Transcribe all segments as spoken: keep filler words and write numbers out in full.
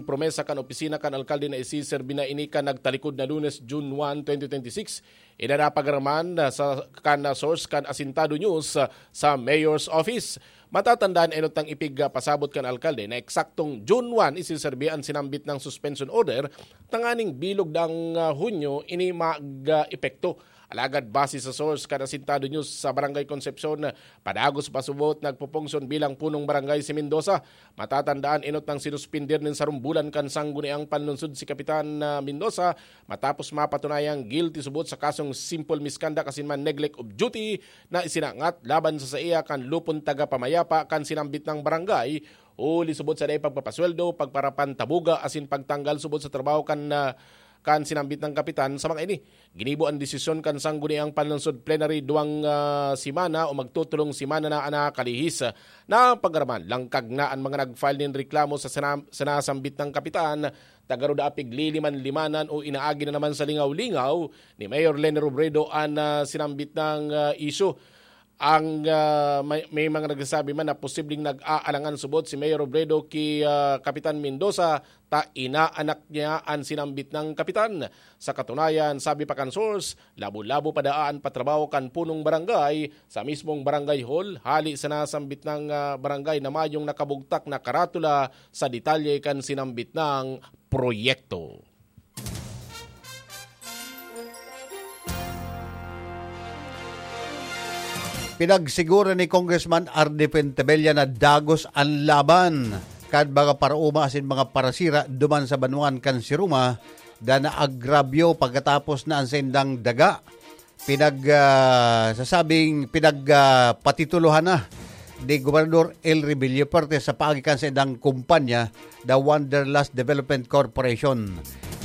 promesa kan opisina kan alkalde na isiserbi na ini kan nagtalikod na Lunes, June one, twenty twenty-six. Ina na pagaraman sa kan source kan Asintado News sa Mayor's Office. Matatandaan, enot nang ipig, ah, pasabot kan alkalde na eksaktong June one isiserbi an sinambit na suspension order, tanganing bilog dang, ah, Hunyo ini mag-epekto. Alagad base sa source kan Asintado News sa Barangay Concepcion, padagos pa subot nagpupunksyon bilang punong barangay si Mendoza. Matatandaan, enot nang sinuspender nin sarong bulan kan Sangguniang Panlunsod si Kapitan, ah, Mendoza matapos mapatunayang guilty subot sa kasong simple misconduct asin man neglect of duty na isinangat laban sa saiya kan lupon taga-pamayapa kan sinambit na barangay, huli subot sa dai pagpapasweldo, pagparapantabuga asin pagtanggal subot sa trabaho kan, ah, kan sinambit na kapitan. Sa mga ini, ginibo an desisyon kan Sangguniang Panlunsod Plenary duwang, ah, semana o magtutulong semana na an nakalihis. Napagaraman, langkag na an mga nag-file nin reklamo sa sana-, sinasambit na kapitan, taga Roda Apig, liliman-limanan o inaagi na naman sa lingaw-lingaw ni Mayor Leni Robredo an, ah, sinambit na, ah, isyu. Ang, ah, may, may mga nagsasabi man na posibleng nag-aalangan subot si Mayor Robredo ki, ah, Kapitan Mendoza ta inaanak niya an sinambit na kapitan. Sa katunayan, sabi pa kan source, labo-labo pa daa an patrabaho kan punong barangay sa mismong barangay hall, hali sa nasambit na, ah, barangay na mayong nakabugtak na karatula sa detalye kan sinambit na proyekto. Pinagsiguro ni Congressman Arnie Fuentebella na dagos an laban kan mga paraoma asin mga parasira duman sa banwaan kan Siruma, da naagrabyo pagkatapos na an saindang daga pinag, ah, sasabing pinag, ah, patitulohan na ni Gobernador Elry Villafuerte sa paagi kan saindang kumpanya, the Wanderlust Development Corporation.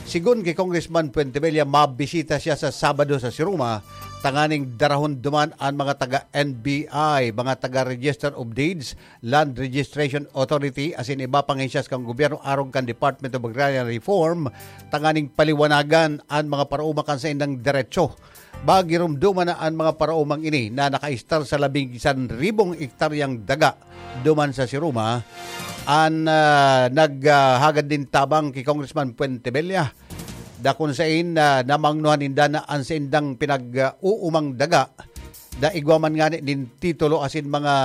Sigon ki Congressman Fuentebella, mabisita siya sa Sabado sa Siruma, tanganing darahon duman an mga taga N B I, mga taga Register of Deeds, Land Registration Authority, asin iba pang hensyas kan gobyerno arog kan Department of Agrarian Reform, tanganing paliwanagan an mga paraoma kan saindang derecho. Magiromdoman na an mga paraomang ini na nakaistar sa labing san ribong ektaryang daga duman sa Siruma, an, ah, naghahagad nin tabang ki Congressman Fuentebella. Dakon sain, ah, namangnohan ninda na an saindang pinag-uumang daga, da igwa man ngani nin titulo asin mga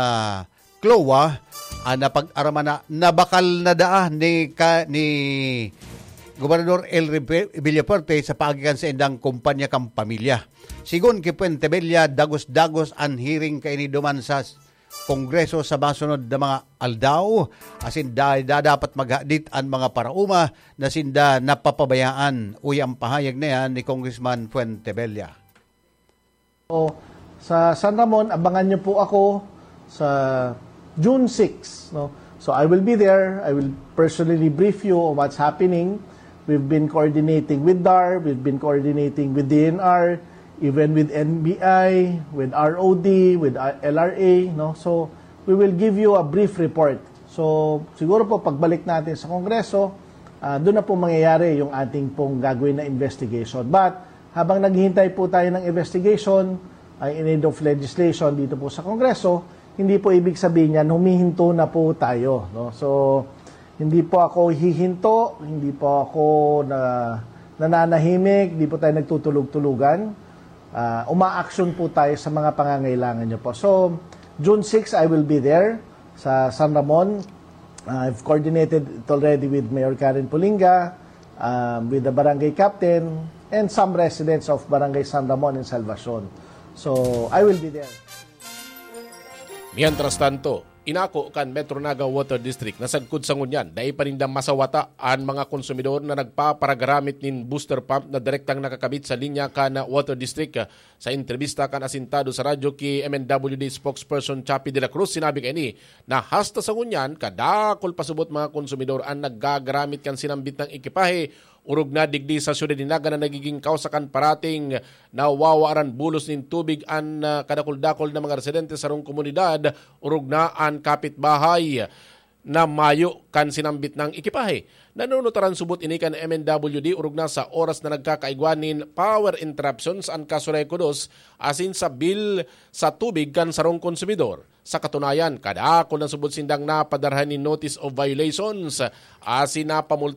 CLOA, an napag-araman na nabakal na daa ni ka, ni Gobernador Elry Villafuerte sa paagi kan saindang kumpanya kan pamilya. Sigon ki Fuentebella, dagos-dagos an hearing kaini duman sa Kongreso sa masunod na mga aldaw, asin da-, da-, dapat maghadit an mga paraoma na sinda napapabayaan, uya ang pahayag na yan ni Congressman Fuentebella. So, sa San Ramon, abangan niyo po ako sa June six, no? So, I will be there. I will personally brief you on what's happening. We've been coordinating with DAR, we've been coordinating with DENR, even with NBI, with ROD, with, uh, LRA, no? So, we will give you a brief report. So, siguro po, pagbalik natin sa Kongreso, ah, doon na po mangyayari yung ating pong gagawin na investigation. But, habang naghihintay po tayo ng investigation, ay in aid of legislation dito po sa Kongreso, hindi po ibig sabihin yan, humihinto na po tayo, no? So, hindi po ako hihinto, hindi po ako na, nananahimik, hindi po tayo nagtutulog-tulugan. Ah, umaaksyon po tayo sa mga pangangailangan niyo po. So, June six, I will be there sa San Ramon. Ah, I've coordinated it already with Mayor Karen Pulinga, um, with the barangay captain, and some residents of Barangay San Ramon and Salvacion. So, I will be there. Mientras tanto, inako kan Metro Naga Water District na sagkod sa ngunyan, dai pa ninda masawata an mga konsumidor na nagpaparagaramit nin booster pump na direktang nakakabit sa linya kan Water District. Sa entrebista kan Asintado sa Radyo ki M N W D spokesperson Chappie de la Cruz, sinabi kaini na hasta sa ngunyan, kadakul pa subot mga konsumidor an naggagaramit kan sinambit na ekipahe. Orog na digdi sa siyudad ni Naga na nagiging kawsa kan parating nawawaaran bulos nin tubig an, ah, kadakul-dakul na mga residente sa sarong komunidad, orog na an kapitbahay na mayo kan sinambit na ekipahe. Nanunutaran subot ini kan M N W D orog na sa oras na nagkakaigwa nin power interruptions an Kasulay Kudos asin sa bill sa tubig kan sarong konsumidor. Sa katunayan, kadakul na subot sindang napadarhan nin notice of violations asin napamulta